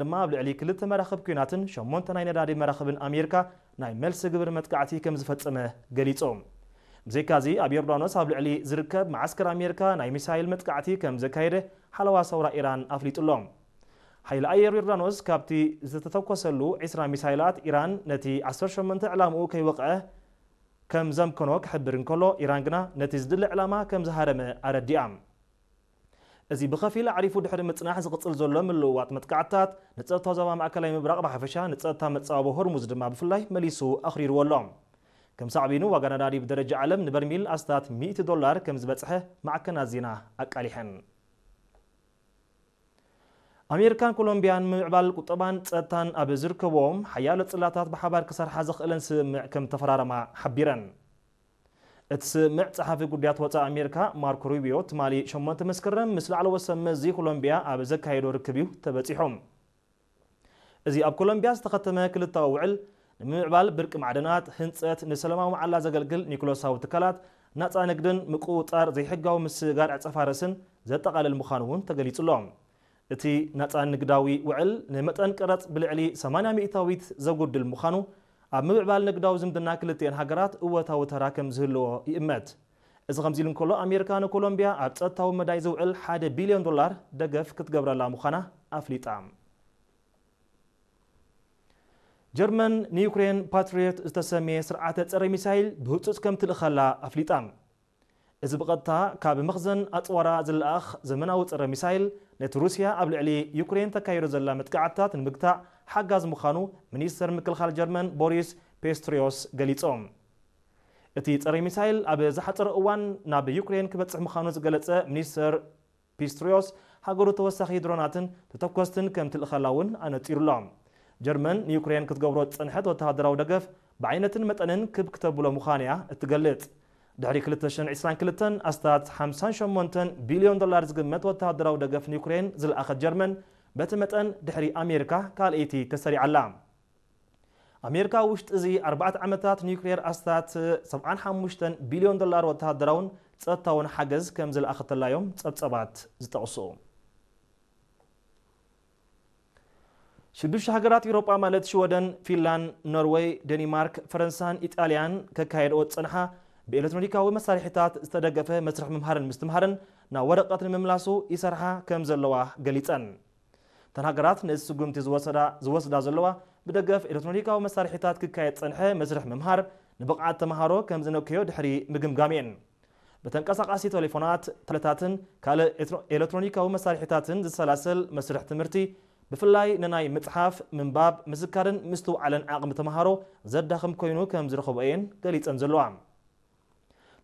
ድማ ኣብ ልዕሊ ክልተ መራኽብ ኲናትን ሸሞንተ ናይ ነዳዲ መራኽብን ኣሜሪካ ናይ መልሲ ግብሪ መጥቃዕቲ ከም ዝፈጸመ ገሊጹ። ብዘይካዚ ኣብ ዮርዳኖስ ኣብ ልዕሊ ዝርከብ መዓስከር ኣሜሪካ ናይ ሚሳይል መጥቃዕቲ ከም ዘካየደ ሓለዋ ሰውራ ኢራን ኣፍሊጡ ኣሎ። ሓይሊ ኣየር ዮርዳኖስ ካብቲ ዝተተኮሰሉ ዕስራ ሚሳይላት ኢራን ነቲ ዓሰርተ ሸሞንተ ዕላምኡ ከይወቕዐ ከም ዘምከኖ ክሕብር እንከሎ፣ ኢራን ግና ነቲ ዝድለ ዕላማ ከም ዝሃረመ ኣረዲኣ። እዚ ብኸፊል ኣዕሪፉ ድሕሪ ምጽናሕ ዝቕጽል ዘሎ ምልውዋጥ መጥቃዕትታት ንጸጥታ ዞባ ማእከላይ ምብራቕ ብሓፈሻ ንጸጥታ መጻወቦ ሆርሙዝ ድማ ብፍላይ መሊሱ ኣኽሪርዎ ኣሎ። ከም ሳዕቤኑ ዋጋ ነዳዲ ብደረጃ ዓለም ንበርሚል ኣስታት ሚእቲ ዶላር ከም ዝበጽሐ ማዕከናት ዜና ኣቃሊሐን። ኣሜሪካን ኮሎምቢያን ምምዕባል ቁጠባን ጸጥታን ኣብ ዝርከብዎም ሓያሎ ጽላታት ብሓባር ክሰርሓ ዘኽእለን ስምምዕ ከም ተፈራረማ ሓቢረን። እቲ ስምምዕ ጸሓፊ ጉዳያት ወጻኢ ኣሜሪካ ማርኮ ሩቢዮ ትማሊ ሸሞንተ መስከረም ምስ ላዕለዎት ሰብ መዚ ኮሎምቢያ ኣብ ዘካየዶ ርክብ እዩ ተበጺሑ። እዚ ኣብ ኮሎምቢያ ዝተኸተመ ክልታዊ ውዕል ንምምዕባል ብርቂ ማዕድናት፣ ህንጸት፣ ንሰላማዊ መዓላ ዘገልግል ኒኩለሳዊ ትካላት፣ ናጻ ንግድን ምቁጽጻር ዘይሕጋዊ ምስግጋር ዕጸፋ ርእስን ዘጠቓልል ምዃኑ እውን ተገሊጹ ኣሎ። እቲ ናጻ ንግዳዊ ውዕል ንመጠን ቀረጽ ብልዕሊ ሰማንያ ሚእታዊት ዘጉድል ምዃኑ፣ ኣብ ምምዕባል ንግዳዊ ዝምድና ክልቲኤን ሃገራት እወታዊ ተራ ከም ዝህልዎ ይእመት። እዚ ከምዚ ኢሉ እንከሎ፣ ኣሜሪካ ንኮሎምቢያ ኣብ ጸጥታዊ መዳይ ዝውዕል ሓደ ቢልዮን ዶላር ደገፍ ክትገብረላ ምዃና ኣፍሊጣ። ጀርመን ንዩክሬን ፓትሪዮት ዝተሰምየ ስርዓተ ጸረ ሚሳይል ብህጹጽ ከም ትልእኸላ ኣፍሊጣ። እዚ ብቐጥታ ካብ መኽዘን ኣጽዋራ ዝለኣኽ ዘመናዊ ጸረ ሚሳይል፣ ነቲ ሩስያ ኣብ ልዕሊ ዩክሬን ተካይዶ ዘላ መጥቃዕትታት ንምግታእ ሓጋዝ ምዃኑ ሚኒስተር ምክልኻል ጀርመን ቦሪስ ፔስትሪዮስ ገሊጾም። እቲ ጸረ ሚሳይል ኣብ ዝሓጸረ እዋን ናብ ዩክሬን ክበጽሕ ምዃኑ ዝገለጸ ሚኒስተር ፒስትሪዮስ፣ ሃገሩ ተወሳኺ ድሮናትን ተተኮስትን ከም ትልእኸላ እውን ኣነጺሩ ኣሎ። ጀርመን ንዩክሬን ክትገብሮ ዝጸንሐት ወተሃደራዊ ደገፍ ብዓይነትን መጠንን ክብ ክተብሎ ምዃን እያ እትገልጽ። ድሕሪ ክልተ ሽሕን ዕስራን ክልተን ኣስታት ሓምሳን ሸሞንተን ቢልዮን ዶላር ዝግመት ወተሃደራዊ ደገፍ ንዩክሬን ዝለኣኸት ጀርመን፣ በቲ መጠን ድሕሪ ኣሜሪካ ካልኣይቲ ተሰሪዓ ኣላ። ኣሜሪካ ውሽጢ እዚ ኣርባዕተ ዓመታት ኒውክሌር ኣስታት ሰብዓን ሓሙሽተን ቢልዮን ዶላር ወተሃደራውን ጸጥታውን ሓገዝ ከም ዝለኣኸተላ እዮም ጸብጸባት ዝጠቕሱ። ሽዱሽተ ሃገራት ኤውሮጳ ማለት ሽወደን፣ ፊንላንድ፣ ኖርወይ፣ ደኒማርክ፣ ፈረንሳን ኢጣልያን ከካየድኦ ዝጸንሓ ብኤሌክትሮኒካዊ መሳርሒታት ዝተደገፈ መስርሕ ምምሃርን ምስትምሃርን ናብ ወረቐት ንምምላሱ ይሰርሓ ከም ዘለዋ ገሊጸን። እተን ሃገራት ነዚ ስጉምቲ ዝወሰዳ ዘለዋ ብደገፍ ኤሌክትሮኒካዊ መሳርሒታት ክካየድ ዝጸንሐ መስርሕ ምምሃር ንብቕዓት ተምሃሮ ከም ዝነክዮ ድሕሪ ምግምጋም እየን። ብተንቀሳቓሲ ቴሌፎናት፣ ተለታትን ካልእ ኤሌክትሮኒካዊ መሳርሒታትን ዝሰላሰል መስርሕ ትምህርቲ ብፍላይ ንናይ ምጽሓፍ፣ ምንባብ፣ ምዝካርን ምስትውዓልን ዓቕሚ ተምሃሮ ዘዳኽም ኮይኑ ከም ዝረኸቦ እየን ገሊጸን ዘለዋ።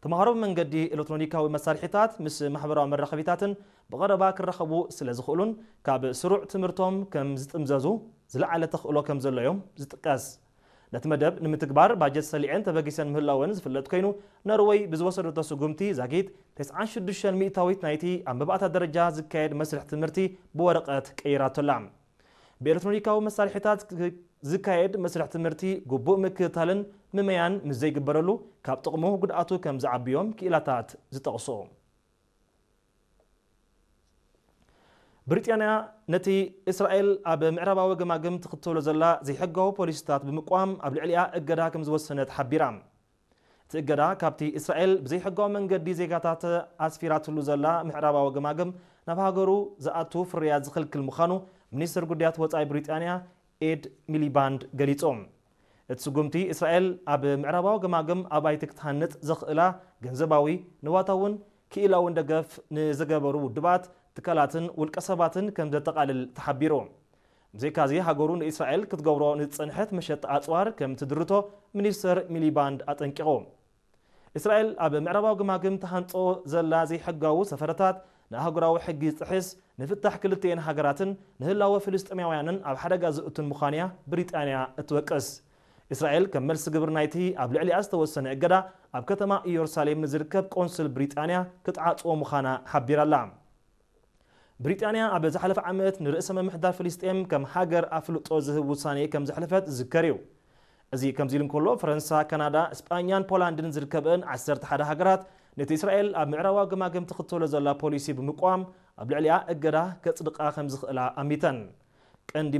ተምሃሮ ብመንገዲ ኤሌክትሮኒካዊ መሳርሒታት ምስ ማሕበራዊ መራኸቢታትን ብቐረባ ክራኸቡ ስለ ዝኽእሉን ካብ ስሩዕ ትምህርቶም ከም ዝጥምዘዙ ዝለዓለ ተኽእሎ ከም ዘሎ እዮም ዝጥቀስ። ነቲ መደብ ንምትግባር ባጀት ሰሊዐን ተበጊሰን ምህላወን ዝፍለጥ ኮይኑ፣ ኖርወይ ብዝወሰደቶ ስጉምቲ ዛጊት ተስዓን ሽዱሽተን ሚእታዊት ናይቲ ኣብ መባእታ ደረጃ ዝካየድ መስርሕ ትምህርቲ ብወረቐት ቀይራቶላ። ብኤሌክትሮኒካዊ መሳርሒታት ዝካየድ መስርሕ ትምህርቲ ግቡእ ምክትታልን ምመያን ምስ ዘይግበረሉ ካብ ጥቕሙ ጉድኣቱ ከም ዝዓብዮም ክኢላታት ዝጠቕሱ። ብሪጣንያ ነቲ እስራኤል ኣብ ምዕራባዊ ገማግም ትኽተሎ ዘላ ዘይሕጋዊ ፖሊሲታት ብምቋም ኣብ ልዕሊኣ እገዳ ከም ዝወሰነት ሓቢራ። እቲ እገዳ ካብቲ እስራኤል ብዘይሕጋዊ መንገዲ ዜጋታት ኣስፊራትሉ ዘላ ምዕራባዊ ገማግም ናብ ሃገሩ ዝኣቱ ፍርያት ዝኽልክል ምዃኑ ሚኒስትር ጉዳያት ወጻኢ ብሪጣንያ ኤድ ሚሊባንድ ገሊጹ። እቲ ስጉምቲ እስራኤል ኣብ ምዕራባዊ ገማግም ኣባይቲ ክትሃንጽ ዘኽእላ ገንዘባዊ፣ ንዋታውን ክኢላውን ደገፍ ንዝገበሩ ውድባት፣ ትካላትን ውልቀ ሰባትን ከም ዘጠቓልል ተሓቢሩ። ብዘይካዚ ሃገሩ ንእስራኤል ክትገብሮ ንዝጸንሐት መሸጣ ኣጽዋር ከም ትድርቶ ሚኒስተር ሚሊባንድ ኣጠንቂቑ። እስራኤል ኣብ ምዕራባዊ ግማግም ተሃንጾ ዘላ ዘይሕጋዊ ሰፈረታት ንኣህጉራዊ ሕጊ ዝጥሕስ፣ ንፍታሕ ክልቲኤን ሃገራትን ንህላወ ፍልስጤማውያንን ኣብ ሓደጋ ዝእቱን ምዃንያ ብሪጣንያ እትወቅስ። እስራኤል ከም መልሲ ግብሪ ናይቲ ኣብ ልዕሊኣ ዝተወሰነ እገዳ ኣብ ከተማ ኢየሩሳሌም ንዝርከብ ቆንስል ብሪጣንያ ክትዓጽዎ ምዃና ሓቢራ'ላ። ብሪጣንያ ኣብ ዝሓለፈ ዓመት ንርእሰ ምምሕዳር ፍልስጤም ከም ሃገር ኣፍልጦ ዝህብ ውሳኔ ከም ዘሕለፈት ዝዝከር እዩ። እዚ ከምዚ ኢሉ እንከሎ፣ ፈረንሳ፣ ካናዳ፣ ስጳኛን ፖላንድን ዝርከበን ዓሰርተ ሓደ ሃገራት ነቲ እስራኤል ኣብ ምዕራባዊ ገማግም ትኽተሎ ዘላ ፖሊሲ ብምቋም ኣብ ልዕሊኣ እገዳ ከጽድቓ ከም ዝኽእላ ኣሚተን። ቀንዲ